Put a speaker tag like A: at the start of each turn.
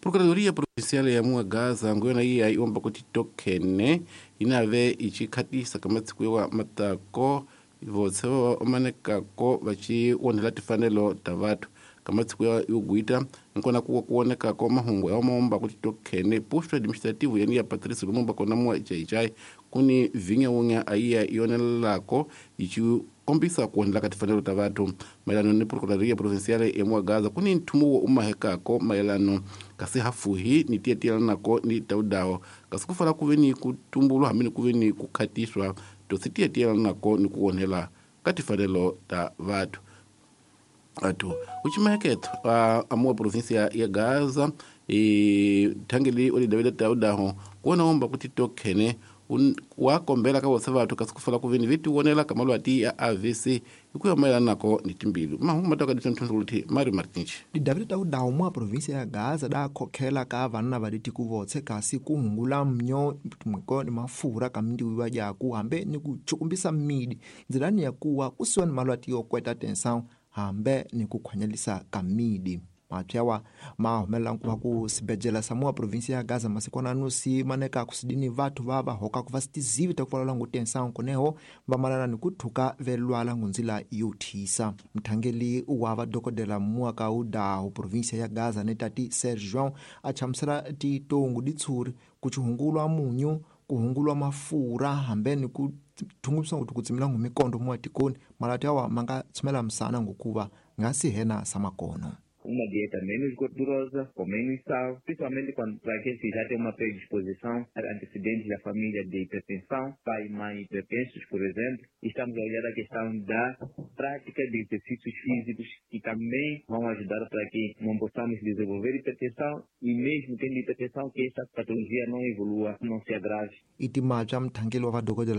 A: Procuradoria Provincial ya Muagaza nguyona iya iomba kuti tokene inave ichikhatisa kamatsiku wa matako votse vamanekako vachi onhela tifanelo ta vathu kamatsiku ya yogwita nkona kuwa kuonekako mahungu ya maomba kuti tokhene posto administrativo yani ya Patrice Lumumba kona mua Xai-Xai kuni vinya wunya aiya ionelelako ichi kombisa ku onhela ka tifanelo ta vathu mayelano ni Procuradoria Provincial ya Muagaza kuni nthumo wo umahekako mayelano kasi hafuhi ni tiyetiyelanako ni taudawo kasi ku fala ku ve ni ku tumbulwa hambi ni ku ve ni ku khatiswa to si tiyetiyelanako ni ku onhela ka tifanelo ta vathu athu uchimaheketo amuwa província ya Gaza e thangeli oli David taudaho kuona omba kuti tokhene wakombela ka vose vathu kasi ku fala ku veni vetiwonela ka malwati ya AVC hikuya mayelanako ni timbilu mahungu mataka ditonthontsoluthi Mario Martins.
B: Didavida taudawu mwa província ya Gaza dakhokhela ka vanna va litiku votse kasi ku hungula mnyo mwiko ni mafurha ka mindiwiwa yaku hambe ni ku chukumbisa midi ndzilani ya kuwa kusiwa ni malwati yo kweta tensão hambe ni ku khwanyelisa ka midi. Mapyawa ma humelela nkuva ku sibedjela sa mua província ya Gaza masikwana nusi maneka kusidini vathu va va hokaku va sitizivi ta kuvalala ngu tensão kuneho va malana ni kuthuka velwala ngunzila yo thisa. Mthangeli wa vadokodela mua ka udahu província ya Gaza ni tati Serge João a chamusela titongu ditshuri ku chihungulwa munyu, ku hungulwa mafurha hambe ni ku thungumisa nguthu ku tsimela ngu mikondo mua tikoni malati awa ma nga tshumela misana ngokuva nga si hena sa makono.
C: Uma dieta menos gordurosa, com menos sal, principalmente quando para aqueles que já têm uma predisposição a antecedentes da família de hipertensão, pai e mãe hipertensos, por exemplo. Estamos a olhar a questão da prática de exercícios físicos que também vão ajudar para que não possamos desenvolver hipertensão e mesmo tendo hipertensão que essa patologia não evolua, não se agrave.
B: I timabya mthangeli wa vadokodela.